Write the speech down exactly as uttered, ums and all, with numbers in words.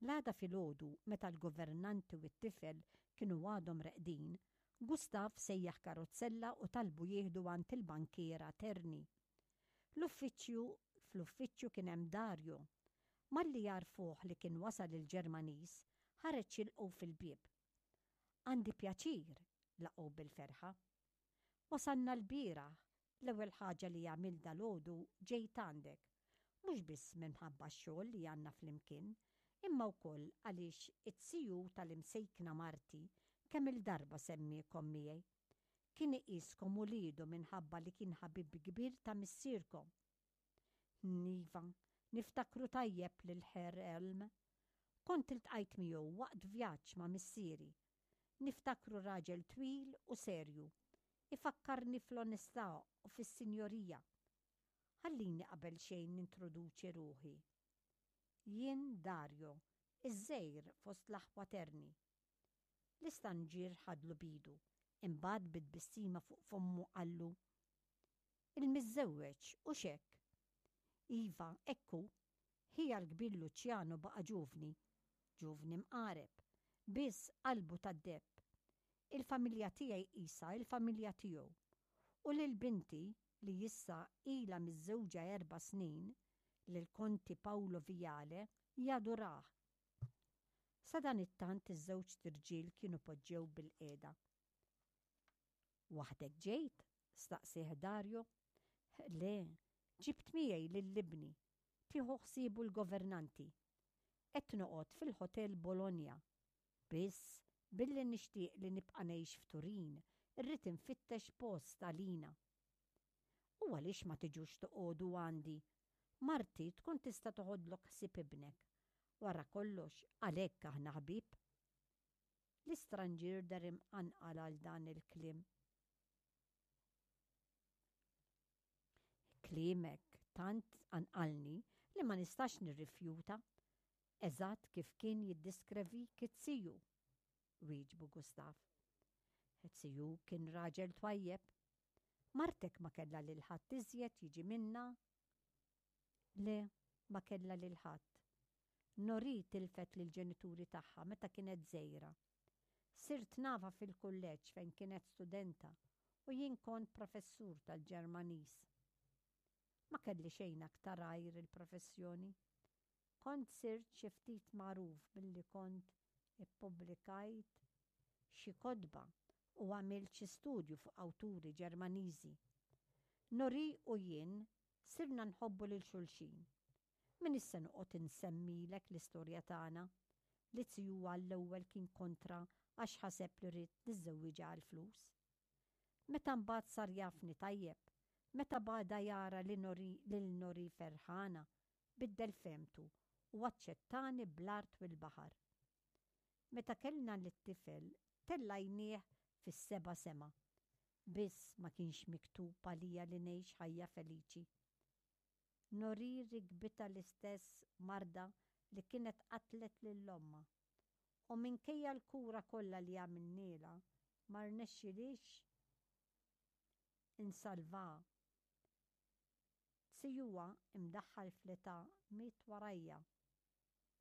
L-għada filgħodu, meta l-governanti u t-tifel kienu għadhom reqdin, Gustav sejjaħ karozzella u talbu jieħdu għand il-bankiera Terni. L-uffiċċju fl-uffiċċju kien hemm Dario. Malli għarrfuh li kien wasal il-Ġermaniż, ħareġ jilqgħu fil-bieb. "Għandi pjaċir," laqgħu bil-ferħa. "Wasalna l-bieraħ, l-ewwel ħaġa li għamilt dalgħodu ġejt għandek. Mhux biss minħabba x-xogħol li għandna flimkien, imma wkoll għaliex it-siju tal-imsejkna marti kemm il-darba semmiekom miegħi. Kien iqiskom uliedu minħabba li kien ħabib kbir ta' missierkom." "Iva, niftakru tajjeb lil Herr Elm. Kont iltqajt miegħu waqt vjaġġ ma' missieri. Niftakru raġel twil u serju. Ifakkarni fl-onestà u fis-sinjorija. Ħallini qabel xejn nintroduċi ruħi. Jien Dario, iż-żgħir fost l-aħwa Terni." L-istanġier ħadlu b'idu, imbagħad bi tbissima fuq fommu qallu: "Il-miżżewweġ, hux hekk?" "Iva, hekk hu. Ħija l-kbir Luciano baqa' ġuvni, ġuvni mqareb, biss qalbu tad-deheb. Il-familja tiegħi qisha il-familja tiegħu. U lil binti li issa ilha miżżewġa erba' snin, lil Konti Paolo Viale, jadurah." Sadanittant iż-żewġ irġiel kienu poġġew bilqiegħda. "Waħdek ġejt?" staqsieh Dario. "Le, ġibt miegħi lil ibni. Tieħu ħsiebu l-governanti. Qed noqgħod fil-Hotel Bologna. Biss billi nixtieq li nibqa' ngħix f'Turin, irrid infittex post għalina." "U għaliex ma tiġux toqogħdu għandi? Marti tkun tista' toħodlok ħsieb ibnek. Wara kollox, għalhekk aħna ħbieb." L-istranġier deher imqanqal għal dan il-kliem. "Kliemek tant qanqalni li ma nistax nirrifjuta. Eżatt kif kien jiddiskrevik it-siju," wieġbu Gustav. "It-siju kien raġel twajjeb. Martek ma kellha lil ħadd iżjed jiġi minna?" "Le, ma kellha lil ħadd. Nori tilfet lill-ġenituri tagħha meta kienet żgħira. Sirt nafha fil-kulleġġ fejn kienet studenta u jien kont professur tal-Ġermaniż. Ma kelli xejn aktar għajr il-professjoni. Kont sirt xi ftit magħruf billi kont ippubblikajt xi kotba u għamilt xi studju fuq awturi Ġermaniżi. Nori u jien sirna nħobbu lil xulxin. M'iniex se noqgħod insemmilek l-istorja tagħna, li ziju għall-ewwel kien kontra għax ħaseb li ridt niżżewwiġha għall-flus. Meta mbagħad sar jafni tajjeb, meta bada jara li Nori lil Nori ferħana, biddel fehmtu u aċċettani bl-art u l-baħar. Meta kellna lit-tifel tellajnieh fis-seba' sema. Biss ma kienx miktub għalija li ngħix ħajja feliċi. Nori rikbitha l-istess marda li kienet qatlet lil ommha. U minkejja l-kura kollha li għamilnielha ma rnexxilix insalvaha. Zijuha imdaħħal fl-età miet warajja.